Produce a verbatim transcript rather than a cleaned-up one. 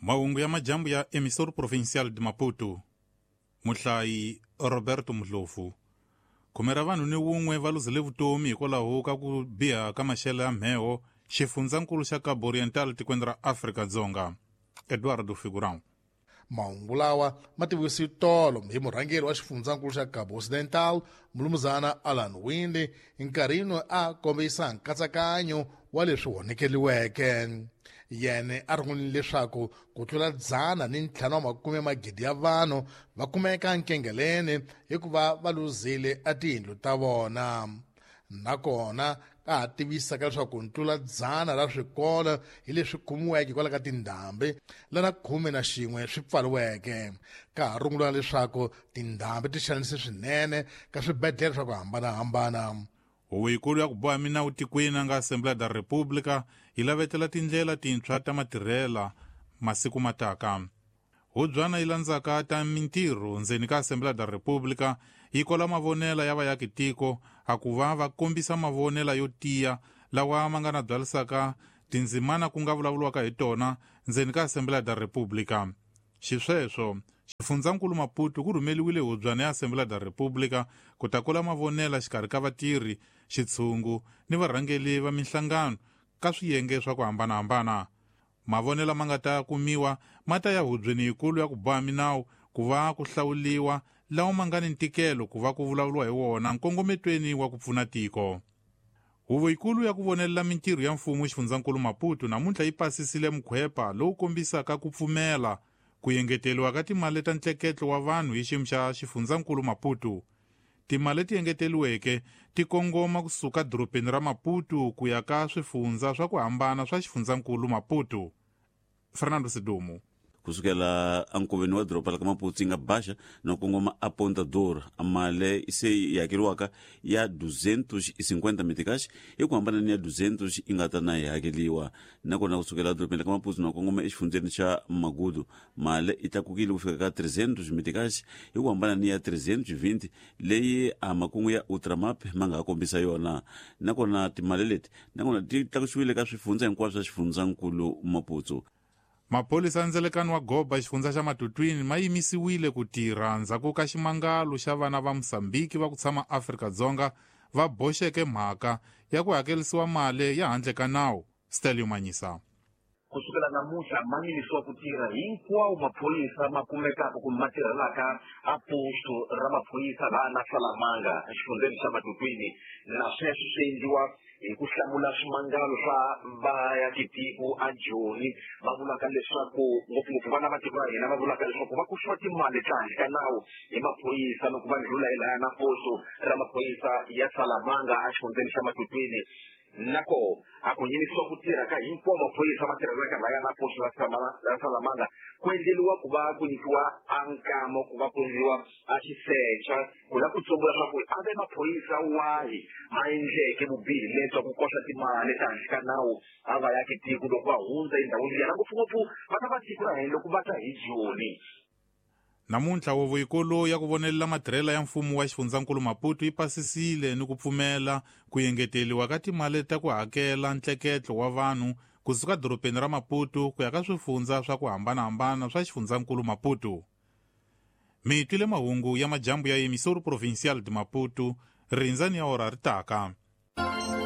Mahungu ya majambu ya Emissor Provincial de Maputo. Muhlayi Roberto Mdlovu. Khume ra vanhu ni wun'we va luzile vutomi hikwalaho ka ku biha ka maxelo ya mheho xifundzankulu xa Cabo Oriental tikweni ra Afrika-Dzonga. Eduardo Figurão. Mahungu lawa ma tivisiwe tolo hi murhangeri wa xifundzankulu xa Cabo Occidental Mulumuzana Alan Winde nkarhini a kombisa nkatsakanyo wa leswi honekeliweke. Yena a rungulile leswaku ku tlula dzana ni ntlhanu wa makume magidi ya vanhu va kumeka nkengeleni hikuva va luzile a tiyindlu ta vona. Nakona ka ha tivisaka leswaku ntlula dzana ra swikolo hi leswi kumiweke hikwalaho ka tindhambi lana khume na xin'we swi pfariweke. Ka ha rungula leswaku tindhambi ti xanise swinene ka swibedhlele swa ku hambanahambana. Huvo yikulu ya ku boha minawu tikweni a nga Assembleia da República yi lavetela tindlela tintshwa ta matirhela masiku mataka. Hubyana yi landzaka ta mintirho ndzeni ka Assembleia da República yi kola mavonela ya vayaki tiko a ku va va kombisa mavonela yo tiya lawa ma nga na byalisaka tindzimana ku nga vulavuriwaka hi tona ndzeni ka Assembleia da República. Xisweswo xifundzankulu Maputo ku rhumeliwile hubyana ya Assembleia da República ku ta kola mavonela xikarhi ka vatirhi, xitshungu ni varhangeli va minhlangano ka swiyenge swa ku hambanahambana. Mavonela ma nga ta kumiwa ma ta ya hubyeni yikulu ya ku boha minawu ku va ku hlawuliwa lawa ma nga ni ntikelo ku va ku vulavuriwa hi wona nkongometweni wa ku pfuna tiko. Huvo yikulu ya ku vonelela mintirho ya mfumo xifundzankulu Maputo namuntlha yi pasisile mukhwepa lowu kombisaka ku pfumela ku engeteriwa ka timali ta ntleketlo wa vanhu hi xiyimo xa xifundzankulu Maputo. Timali leti engeteriweke ti kongoma kusuka dorobeni ra Maputo ku ya ka swifundza swa ku hambana swa xifundzankulu Maputo. Fernando Sidumo. Kusukela ankoveni wa doroba la ka Maputo yi nga baxa no kongoma a Ponta Dor mali se yi hakeriwaka ya duzentos e cinquenta meticais hi ku hambana ni ya duzentos yi nga ta na yi hakeriwa. Nakona kusukela edorobeni la ka Maputo no kongoma exifundzeni xa Magudu mali yi tlakukile ku fika ka trezentos meticais hi ku hambana ni ya trezentos vinte leyi a makungu ya Ultramap ma nga ha kombisa yona. Nakona timali leti nakona ti tlakusiwile ka swifundza hinkwaswo swa xifundzankulu Maputo. Maphorisa ya ndzelekano wa Goba xifundza xa Matutwini ma yimisiwile ku tirha ndzhaku ka ximangalo xa vana va Mozambique va ku tshama Afrika-Dzonga va boxeke mhaka ya ku hakelisiwa mali ya handle ka nawu. Stelio Manyisa. Kusukela namuntlha ma yimisiwa ku tirha hinkwawo maphorisa ma kumekaka kumbe ma tirhelaka a posto ra maphorisa laha na Salamanga exifundzeni xa Matutwini, na sweswo swi endliwa hi ku hlamula swimangalo swa vayakitiko a Joni va vulaka leswaku ngopfungopfu vana va tiko ra hina va vulaka leswaku va kuxiwa timali ta handle ka nawu hi maphorisa loko va ndlhula hi lahaya na posto ra maphorisa ya Salamanga exifundzeni xa Matutwini. Nako a ku yimisiwa ku tirha ka hinkwawo maphorisa ma tirhelaka lahaya na posto ra Salamanga ku endleriwa ku va ku nyikiwa a nkama ku va ku endliwa a xisecha ku la ku tsumbula swa ku a ve maphorisa wahi ma endleke vubihi lebya ku koxa timali ta handle ka nawu a va yaki tiko loko va hundza endhawini liya, na ngopfungopfu vana va tiko ra hina loko va ta hi Joni. Namuntlha huvo yikulu ya ku vonelela matirhela ya mfumo wa xifundzankulu Maputo yi pasisile ni ku pfumela ku engeteriwa ka timali ta ku hakela ntleketlo wa vanhu kusuka dorobeni ra Maputo ku ya ka swifundza swa ku hambanahambana swa xifundzankulu Maputo. Mi twile mahungu ya majambu ya Emissor Provincial de Maputo, rindzani ya ora ri taka.